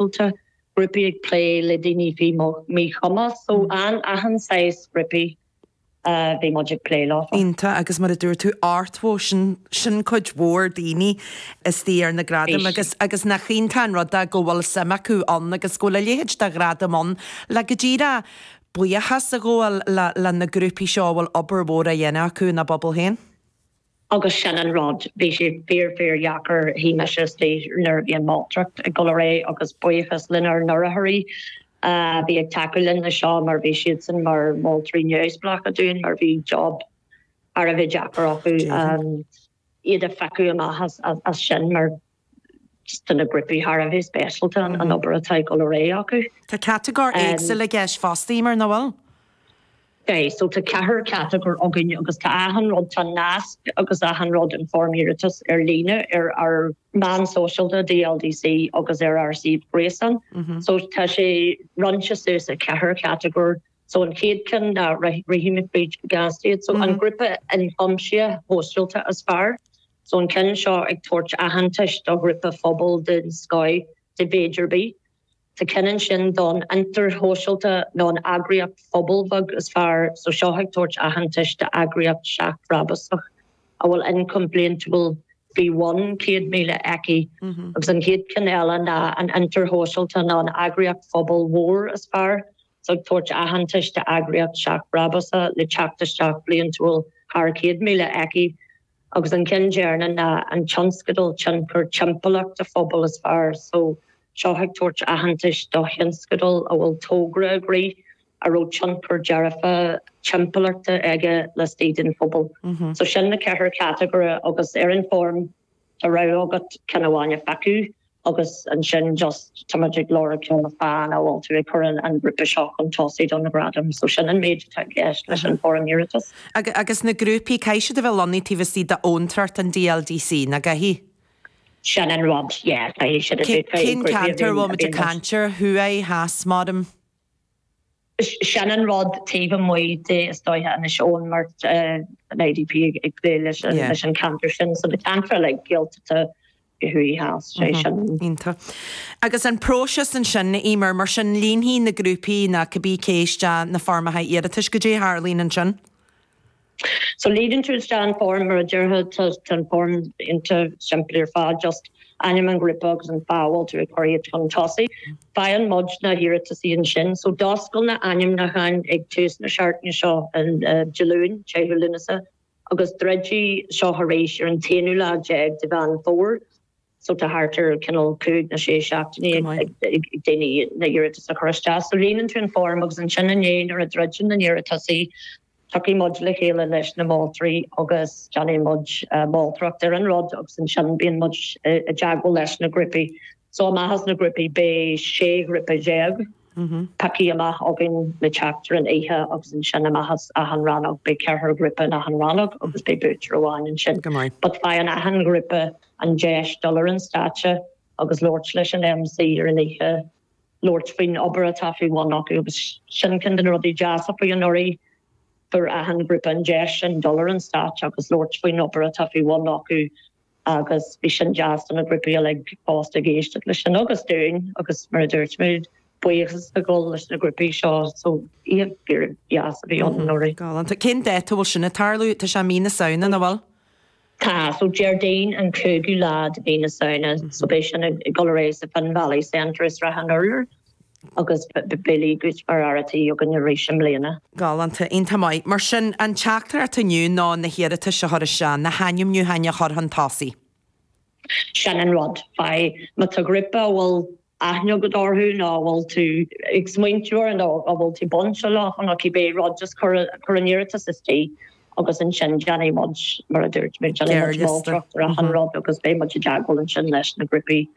shóisialta, grúpaí ag plé le daoine faoi mhíchumas, so achan saghas grúpaí a bhí muid ag plé leo. Iontach, agus mar a dúirt tú, 80, sin, sin cuid mhór daoine istigh ar na gradaim agus, agus nach iontach an rud é go bhfuil suim acu ann agus go bhfuil a leithéid de ghradam ann le go díreach buíochas a ghabháil le, le na grúpaí seo a bhfuil obair mhór á dhéanamh acu ina bpobal féin. Agus sin an rud, bhí sé fíor fíor dheacair, shuigh mise istigh nuair a bhí an mholtóireacht ag dul ar aghaidh agus buíochas lenár n-urraitheoirí a bhí ag tacú linn le seo mar bhí siadsan mar mholtóirí neamhspleácha dúinn mar bhí job thar a bheith deacair acu iad a phiocadh amach as sin mar do na grúpaí thar a bheith speisialta an obair atá ag dul ar aghaidh acu. Tá catagóir éagsúil i gceist fosta, Emer, nach bhfuil? Tá, so tá ceathair catagóir againn agus tá achan rud, tá nasc agus achan rud an foirm iarratais ar líne ar ár meán sóisialta DLDC agus ar ár suíomh gréasáin. So tá sé roinnte suas i ceathair chatagóir. So an chéad ceann ná rithfidh mé fríd go gasta iad. So an grúpa ionchuimsithe shóisialta is fearr. So an ceann seo ag tabhairt aitheantais do ghrúpa phobail den scoth de mhéid ar bith. Tá ceann ansin don fhiontar shóisialta nó an eagraíocht phobail bheag is fearr, so seo ag tabhairt aitheantais d'eagraíocht seachbhrabúsach a bhfuil ioncam bliantúil faoi bhun 100,000 aici. Agus an chéad cheann eile ná an fhiontar shóisialta nó an eagraíocht phobail mhór is fearr, so ag tabhairt aitheantais d'eagraíocht seachbhrabúsach le teacht isteach bliantúil thar 100,000 aici. Agus an ceann deireanach ná an tionscadal tionchar timpeallachta phobail is fearr. So, seo ag tabhairt aitheantais do thionscadal a bhfuil togra ag rith a raibh tionchar dearfa timpeallachta aige laistigh den phobal. So sin na ceathair chatagóir agus ar an foirm tá rogha agat ceann amháin a phiocadh agus ansin just tá muid ag lorg cineál fáth a bhfuil tú ag cur an grúpa seo chun tosaigh don ghradam. So sin an méid atá i gceist leis an foirm iarratais. Agus na grúpaí, caithfidh siad a bheith lonnaithe taobh istigh d'abhantrach an DLDC, nach gcaithfidh? Sin an rud, yeah, caithfidh siad a bheith. Cén ceantar a bhfuil muid ag caint air, thuaidh, theas, maram? Sin an rud taobh amuigh de is dóiche Inis Eoghain mar an IDP ag plé leis an ceantar sin so na ceantair uilig Gaeltachta thuaidh theas sé sin. Iontach. Agus an próiseas ansin, Emer, mar sin líonfaidh na grúpaí nó cibé cé isteach na foirmeacha iarratais, goidé a tharlaíonn ansin? So líonann tú isteach an form mar a déarfá tá an form iontach simplí ar fad just ainm an ghrúpa agus an fáth a bhfuil tú ag cur iad chun tosaigh. Faigheann muid na hiarrataisí ansin. So d'oscail na ainmniúcháin ag tús na seachtaine seo an Dé Luain, 10ú Lúnasa, agus druidfidh seo arís ar an t-aonú lá déag de Mheán Fómhair. So tá thart ar cineál cúig nó sé seachtainí ag daoine na hiarratais a chur isteach. So líonann tú an form agus ansin inné nuair a druideann na n-iarrataisí, tiocfaidh muid le chéile leis na moltóirí agus déanfaidh muid moltóireacht ar an rud agus ansin bíonn muid i dteagmháil leis na grúpaí. So amach as na grúpaí beidh 16 ghrúpa pioctha amach againn le teacht ar an oíche agus ansin amach as achan rannóg beidh ceathrar grúpa in achan rannóg agus beidh buaiteoir amháin ansin. But faigheann achan ghrúpa an deis dul ar an stáitse agus labhairt leis an MC ar an oíche, labhairt faoin obair atá faoi bhun acu agus sin ceann de na rudaí deasa faoi anuraidh, fuair achan ghrúpa an deis sin dul ar an stáitse agus labhairt faoin obair atá faoi bhun acu agus bhí sin deas do na grúpaí uilig fosta ag éisteacht leis sin agus dúinn agus mar a dúirt mé, buíochas ag dul leis na grúpaí seo so oíche fíor dheas a bhí ann anuraidh. Galánta. Cén dáta a bhfuil sin ag tarlú? Tá sé mí na Samhna, nach bhfuil? Tá, so Déardaoin an 5ú lá de mhí na Samhna, so beidh sin ag dul ar aghaidh sa Finn Valley Centre i Srath an Urláir agus beidh Lee Gooch mar fhear a' tí againn arís i mbliana. Galánta, iontach maith. Mar sin, an teachtaireacht inniu ná na hiarratais a chur isteach, na hainmniúcháin a chur chun tosaigh. Sin an rud. Faigh, má tá grúpa a bhfuil aithne agat orthu nó a bhfuil tú ag smaointiú orthu nó a bhfuil tú bainteach leo nó cibé rud, just cuir an iarratas istigh agus ansin déanfaidh muid, mar a dúirt mé, déanfaidh muid moltóireacht ar achan rud agus beidh muid i dteagmháil ansin leis na grúpaí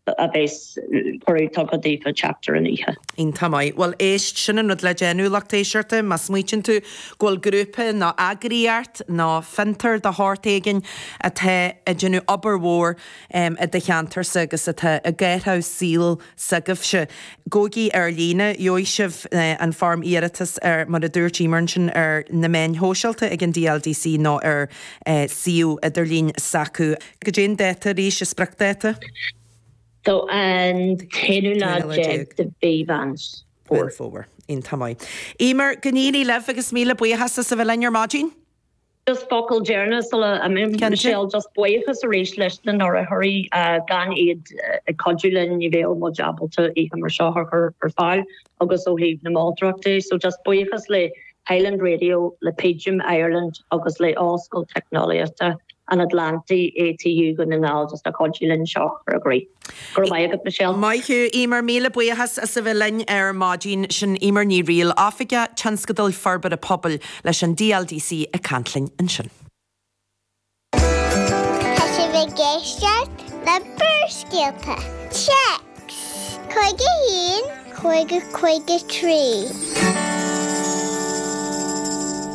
a bheas cuireadh tugtha daofa teacht ar an oíche. Iontach maith. Bhuel, éist, sin an rud le déanamh, lucht éisteachta, má smaoitíonn tú go bhfuil grúpa nó eagraíocht nó fiontar de shórt éigin atá ag déanamh obair mhór i do cheantarsa agus atá ag athrú saol s'agaibhse. Gabhaigí ar líne, gheobhaidh sibh an foirm iarratais ar, mar a dúirt Emer ansin, ar na meáin shóisialta ag an DLDC nó ar suíomh idirlín s'acu. Goidé an dáta arís, an spriocdháta? So an t-aonú lá déag de mhí Mheán Fómhair. Fómhair. Iontach maith. Eimear, go n-éirí libh agus míle buíochas as a bheith linn ar maidin. Just focal deireanach sula n-imím, Michelle, just buíochas arís leis na n-urraitheoirí, gan iad ag cuidiú linn ní bheadh muid ábalta oíche mar seo a chur ar fáil agus ó thaobh na moltóireachta. So just buíochas le Highland Radio, le PGIM Ireland agus le Ollscoil Teicneolaíochta an Atlantaigh, ATU, Dhún na nGall just a chuidigh linn seo a chur i gcrích. Go raibh maith agat, Michelle. Maith thú, Eimear. Míle buíochas as a bheith linn ar maidin. Sin Eimear Ní Fhrighil, Oifigeach Tionscadail Forbartha Pobail leis an DLDC ag caint linn ansin. Tá sibh ag éisteacht le Barrscéalta. Téacs 51 50 53.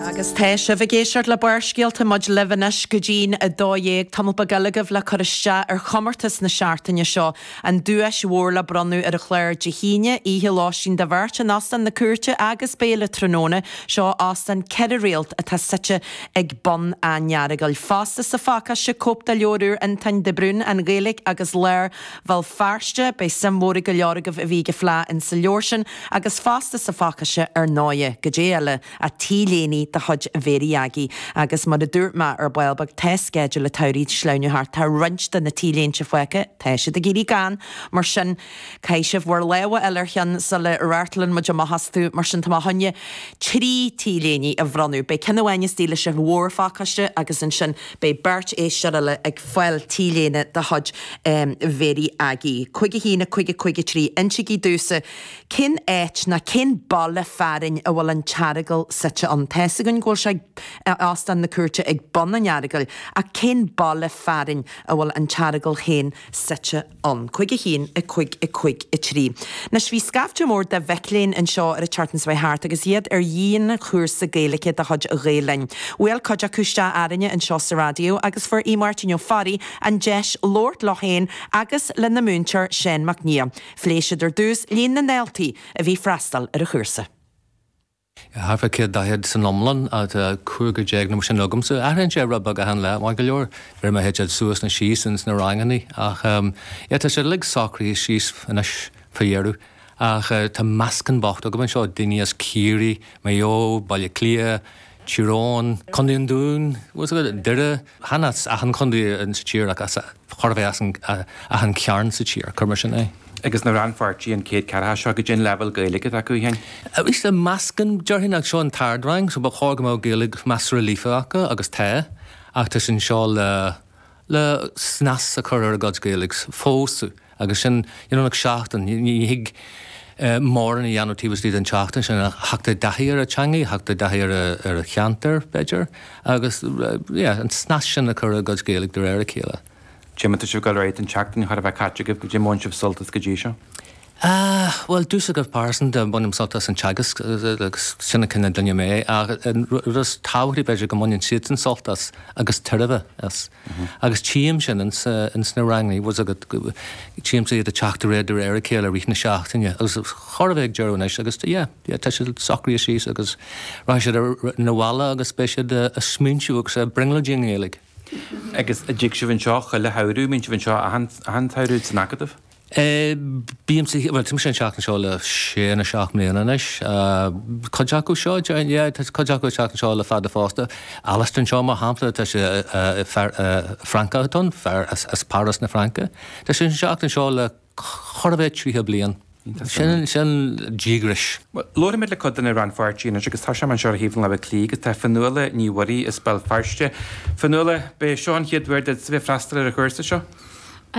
Agus tá sibh ag éisteacht le Barrscéalta, muid libh anois go dtí'n 12. Tamall beag eile agaibh le cur isteach ar chomórtas na seachtaine seo, an duais mhór le bronnadh ar an chlár Dé hAoine, oíche lóistín do bheirt in Óstán na Cúirte agus béile tráthnóna. Seo óstán ceithre réalt atá suite ag bun an Earagail. Fosta sa phacáiste, cóip de leabhar úr Fhionntáin de Brún, An Ghaeilge agus Lár Bhéal Feirste. Beidh suim mhór ag go leor agaibh a bhí ag an phlé insa leabhar sin agus fosta sa phacáiste ar ndóighe, goidé eile ach T-léine de chuid Mhéirí Aggie agus mar a dúirt mé ar ball beag tá sceideal an tsamhraidh ag sleamhnú thart, tá roinnt de na T-léinte fágtha, tá siad ag éirí gann, mar sin caithfidh sibh bhur lámh a fháil ar cheann sula raftálann muid amach astu, mar sin tá mé chun 3 T-léine a bhronnadh. Beidh ceann amháin istigh leis an mhórphacáiste agus ansin beidh beirt éisteoir eile ag fáil T-léine de chuid Mhéirí Aggie. 5 1 5 5 3 Insígí domhsa cén áit ná cén baile fearainn a bhfuil an tEaragal suite ann. Tá's againn go bhfuil sé ag Óstán na Cúirte ag bun an Earagail ach cén baile fearainn a bhfuil an tEaragal féin suite ann. 5 1 5 5 3. Anois bhí scaifte mór de mhic léinn anseo ar an tseachtain seo thart agus iad ar dhianchúrsa Gaeilge de chuid Ghael Linn. Bhuail cuid acu isteach orainne anseo sa raidió agus fuair Aodh Máirtín Ó Fearraigh an deis labhairt leo féin agus lena múinteoir Seán Mac Niadh. Phléigh siad ar dtús líon na ndaltaí a bhí ag freastal ar an chúrsa. Thart fá 140 san iomlán, tá cúigear déag nó mar sin agamsa. Athraíonn sé rud beag achan lá, maith go leor. De réir mar a théid siad suas nó síos ins na rangannaí. Ach yeah, tá siad uilig socraithe síos anois fá dheireadh. Ach tá meascán bocht agam anseo, daoine as Ciarraí, Maigh Eo, Baile Átha Cliath, Tír Eoghain, Contae an Dúin, bhfuil fhios agat, Doire, chan as achan chontae sa tír ach as chóir a bheith as achan chearn sa tír, cuir mar sin é. Agus na rannpháirtithe an chéad ceathracha seo, goidé an leibhéal Gaeilge atá acu féin? Arís, meascán, déarfainn, ach seo an t-ardrang, so ba chóir go mbeadh Gaeilge measartha líofa acu, agus tá, ach tá siad anseo le le snas a chur ar a gcuid Gaeilge, feabhsú, agus sin, you know, like seachtain, ní thig mórán a dhéanamh taobh istigh den tseachtain sin ach theacht i dtaithí ar an teangaidh, theacht i dtaithí ar ar an cheantar, b'fhéidir, agus yeah, an snas sin a chur ar a gcuid Gaeilge de réir a chéile. Goidé mar tá sibh ag dul ar aghaidh don tseachtain chóir a bheith caite agaibh, goidé mar a bhain sibh sult as go dtí seo? Ah, bhuel, domhsa go pearsanta, bainim sult as an teagasc agus sin an cineál duine mé, ach an rud is tábhachtaí b'fhéidir go mbaineann siadsan sult as agus tairbhe as. Agus tchím sin ins na ranganna, bhfuil fhios agat, tchímse iad ag teacht de réir de réir a chéile i rith na seachtaine agus chóir a bheith ag deireadh anois agus yeah, yeah, tá siad socraithe síos agus rachaidh siad 'na bhaile agus beidh siad ag smaointiú agus ag brionglóidí i nGaeilge. Agus an dtig sibh anseo chuile shamhradh, mbíonn sibh anseo achan tsamhradh san Acadamh? Bímse, bhuel, tá mise ag teacht anseo le sé nó seacht mbliana anois. Cuid acu seo, yeah, tá cuid acu ag teacht anseo le fada fosta. Alistair anseo, mar shampla, tá sé, fear Francach atá ann, fear as Páras na Fraince. Tá sé ag teacht anseo le chóir a bheith 30 bliain. Sin, sin díograis. Bhuel, labharfaimid le cuid de na rannpháirtithe anois agus tá mé anseo ar thaobh na láimhe clí agus tá Fionnuala Ní Mhuirí as Béal Feirste. Fionnuala, b'é seo an chéad uair duit a bheith ag freastal ar an chúrsa seo?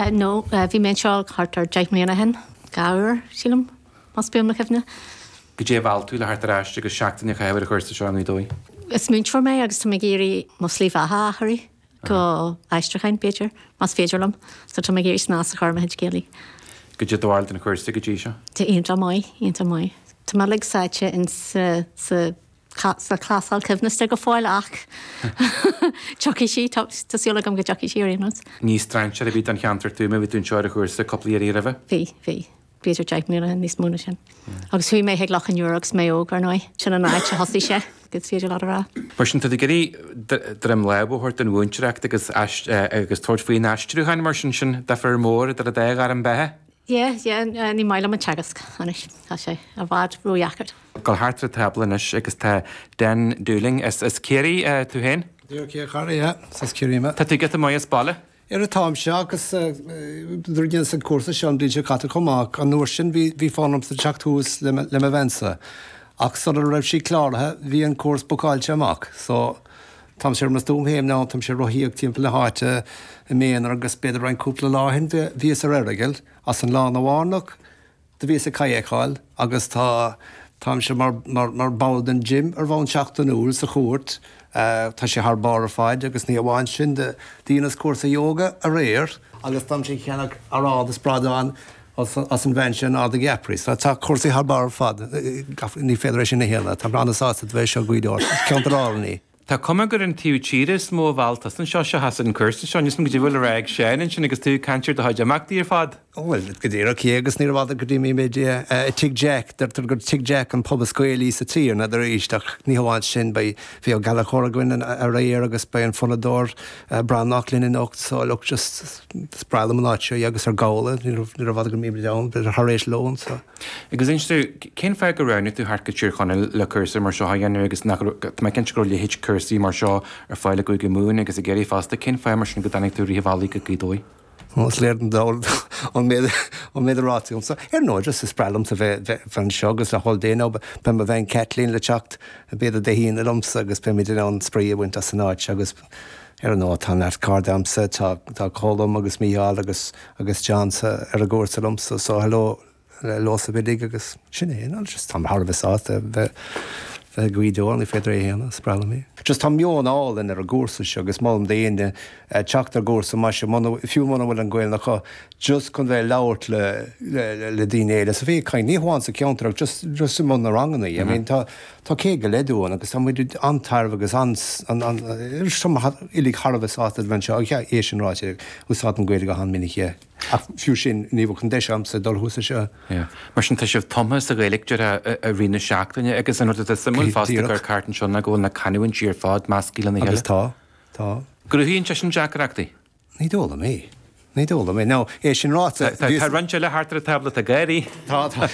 No, bhí mé anseo thart ar 10 mbliana ó shin, dhá uair, sílim, más buan mo chuimhne. Goidé a mheall tú le theacht ar ais agus seachtain a chaitheamh ar an chúrsa seo i nGaoth Dobhair? Is múinteoir mé agus tá mé ag iarraidh mo shlí bheatha a athrú go aistriúcháin, b'fhéidir, más féidir liom. So tá mé ag iarraidh snas a chur ar mo chuid Gaeilge. Goidé do bharúil den chúrsa go dtí seo? Tá iontach maith, iontach maith. Tá mé uilig sáite in sa, sa sa clásal coibhneasta go fóill ach tiocfaidh sí, tá súil agam go dtiocfaidh sí ar aon nós. Ní strainséir ar bith don cheantar tú mar bhí tú anseo ar an chúrsa cúpla iarraidh roimhe? Bhí, bhí. B'fhéidir 10 mbliana níos mó ná sin. Agus chuaigh mé chuig Loch an Iúir agus mé óg, ar ndóigh. Sin an áit a thosaigh sé. is féidir leat a rá. Mar sin, tá tú ag iarraidh droim láimhe a thabhairt don mhúinteoireacht agus agus tabhairt faoin aistriúchán mar sin, sin difear mór idir an dá ghairm beatha? Yeah, yeah, ní maith liom an teagasc anois, tá sé i bhfad ródheacair. Gabháil thart ar an tábla anois agus tá Dan Dooling as Ciarraí tú féin? Díreach é a chara, yeah, is as Ciarraí mé. Tá tú giota maith as baile? Ara táimse agus nuair a dheineas an cúrsa seo an bhliain seo caite chomh maith, an uair sin bhí fonn ormsa teacht thuas le mo bheansa ach sula raibh sí cláraithe bhí an cúrsa bookáilte amach so táimse ar mo stuaim féin now, táimse ag rothaíocht timpeall na háite i m'aonar agus b'fhéidir roinnt cúpla lá ó shin bhíos ar Errigal as an lá arna mhárnach. Do bhíos ag cadhcáil agus tá, táimse mar, mar, mar ball den gym ar bhonn seachtainiúil sa chúirt. Tá sé thar barr ar fad agus ní amháin sin, do dheineas cúrsa yoga aréir agus táimse ag ceannach arán is bradán as, as an bhean sin in Ard an Gheapaire. So tá cúrsaí thar barr ar fad. Ní féidir é sin a shéanadh. Táim an-sásta do bheith anseo i Gaoth Dobhair. Is ceantar álainn í. Tá cuma gur an taobh tíre is mó a mheall tusa anseo seachas an cúrsa seo. Níl 's agam goidé bhfuil le rá ag Seán ansin agus tú ag caint ar do chuid imeachtaí ar fad. Ó bhuel, go díreach, yeah, agus níorbh fhada go dtí mbímid i Tigh Jack. Deirtear gur Tigh Jack an pub is Gaelaí sa tír, n'fheadar arís, ach ní hamháin sin, beidh, bhí Ó Gallchóir againn aréir agus beidh an fonnadóir Breathnach linn anocht, so look, just, is breá liom an áit seo, yeah, agus ar Gabhla, níorbh fhada go mbímid ann, b'fhéidir thar éis lóin, so. Agus inis domh, cén fáth gur roghnaigh tú theacht go Tír Chonaill le cúrsa mar seo a dhéanamh agus nach raibh, tá mé cinnte go raibh a leithéid cúrsaí mar seo ar fáil i gCúige Mumhan agus i gCiarraí fosta, cén fáth mar sin go dtáinig tú i rith an bhealaigh go Gaoth Dobhair? Bhuel, is léir don dall an méid, an méid a ráite agamsa. Ar ndóigh, just is breá liomsa bheith, bheith anseo agus le hól Dé now, beidh mo bhean Kathleen le teacht b'fhéidir Dé hAoine liomsa agus beimid in ann spraoi a bhaint as an áit seo agus ar ndóigh tá neart cairde agamsa, tá, tá Colm agus Mícheál agus, agus John sa, ar an gcúrsa liomsa so hello leosa uilig agus sin é, no just táim thar a bheith sásta bheith, bheith i nGaoth Dobhair, ní féidir é a shéanadh, is breá liom é. Just tá meon álainn ar an gcúrsa seo agus molaim d'éinne teacht ar gcúrsa mar seo, muna, fiú muna bhfuil an Ghaelainn acu, just chun bheith ag labhairt le, le, le daoine eile is a bheith ag caint, ní hamháin sa cheantar ach just, just i mbun na ranganna, I mean tá, Tá 100 go leith dúinn agus tá muid an-tairbhe agus uilig thar a bheith sásta a bheith anseo. Ach é sin ráite, úsáidim Gaeilge go han-mhinic, yeah. Ach fiú sin, ní bheadh an deis agamsa dul thuas anseo. Yeah. Mar sin, tá sibh tumtha sa Ghaeilge, déarfá, i rith na seachtaine agus an rud atá suimiúil fosta gur ceart anseo ná go bhfuil na canúintí ar fad measctha lena chéile. Agus tá. Tá. Cruthaíonn sé sin deacrachtaí. Ní dóigh liom é. Ní dóigh liom é. Now, é sin ráite, Tá bhíos. roinnt eile thart ar an tábla atá ag gáirí. Tá, tá.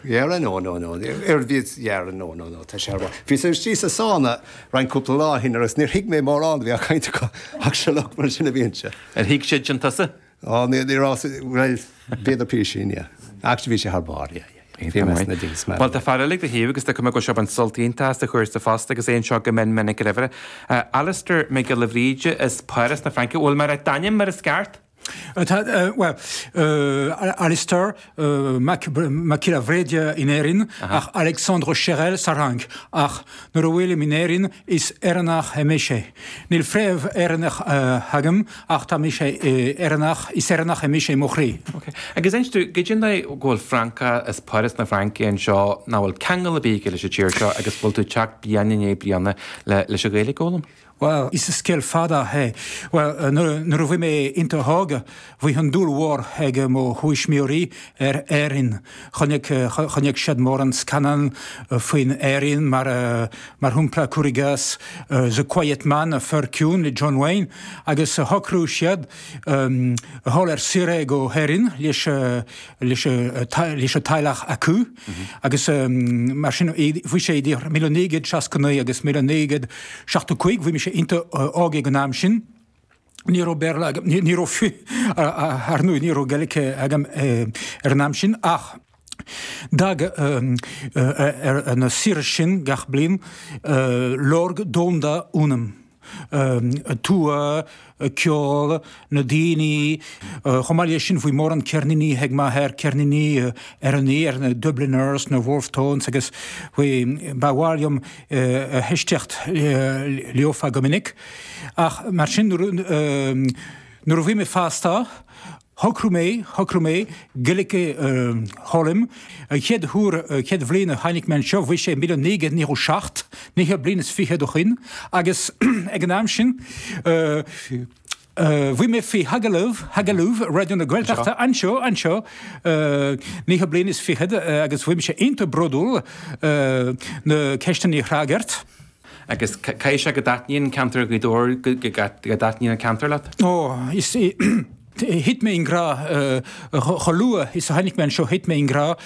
Yeah, no, no, no. Ar bhíos, yeah, no, no, no, tá sé ar bharr. Bhíos istigh sa sauna roinnt cúpla lá ó shin agus níor thuig mé mórán a bhí á caint acu ach sure look, mar sin a bhíonn sé. Ar thuig siad sin tusa? Á, ní, ní raibh, bhuel, b'fhéidir písín, yeah. Actually bhí sé thar barr, yeah, yeah, yeah. Bhí mé sna dings, man. Bhuel, tá fear eile ag do thaobh agus tá cuma go bhfuil sé ag baint sult iontach as an chúrsa fosta agus é anseo go mion minic roimhe. Alistair Mac Giolla Bhríde as Páras na Fraince. Bhfuil mé ag rá d'ainm mar is ceart? Tá, bhuel, Alistair Mac Giolla Bhríde in Éirinn ach Alexandre Cherel sa Fhrainc. Ach nuair a bhfuilim in Éirinn is Éireannach é mise. Níl fréamh Éireannach agam ach tá mise Éireannach, is Éireannach é mise i mo chroí. Ok. Agus inis domh, goidé an dóigh go bhfuil Francach as Páras na Fraince anseo nach bhfuil ceangal ar bith aige leis an tír seo agus bhfuil tú ag teacht bliain i ndiaidh bliana leis an Ghaeilge a fhoghlaim? Bhuel, is scéal fada é. Bhuel, nuair a bhí mé iontach óg, bhí an dúil mhór ag mo thuismitheoirí ar Éirinn. Chonaic, chonaic siad mórán scannán faoin Éirinn, mar, mar shampla, cuir i gcás, The Quiet Man, An Fear Ciúin le John Wayne, agus shocraigh siad a dhul ar saoire go hÉirinn leis, leis leis an teaghlach acu agus mar sin bhí sé idir 1969 agus 1975, bhí mise iontach óg ag an am sin. Ní raibh Béarla agam, ní raibh fiú, ar ndóigh, ní raibh Gaeilge agam ar an am sin ach d'fhág ar na saoire sin gach bliain lorg domhanda ionam. Tuath, ceol, na daoine. Chomh maith leis sin bhí mórán ceirníní ag m'athair, ceirníní Éireannaí ar na Dubliners, na Wolfe Tones agus bhí, ba mhaith liom éisteacht leofa go minic. Ach mar sin nuair a bhí mé fásta, Shocraigh mé, shocraigh mé Gaeilge a fhoghlaim. An chéad uair, an chéad bhliain a tháinig mé anseo, bhí sé 1997, naoi bliain is fichead ó shin, agus ag an am sin. Bhí mé faoi agallamh, agallamh Raidió na Gaeltachta anseo, anseo, naocha bliain is fichead agus bhí mise iontach bródúil na ceisteanna a fhreagairt. Agus caithfidh sé go dtaitníonn ceantar Ghaoth Dobhair, go dtaitníonn an ceantar leat? Ó, is, thit mé i ngrá, chomh luath is a tháinig mé anseo, thit mé i ngrá.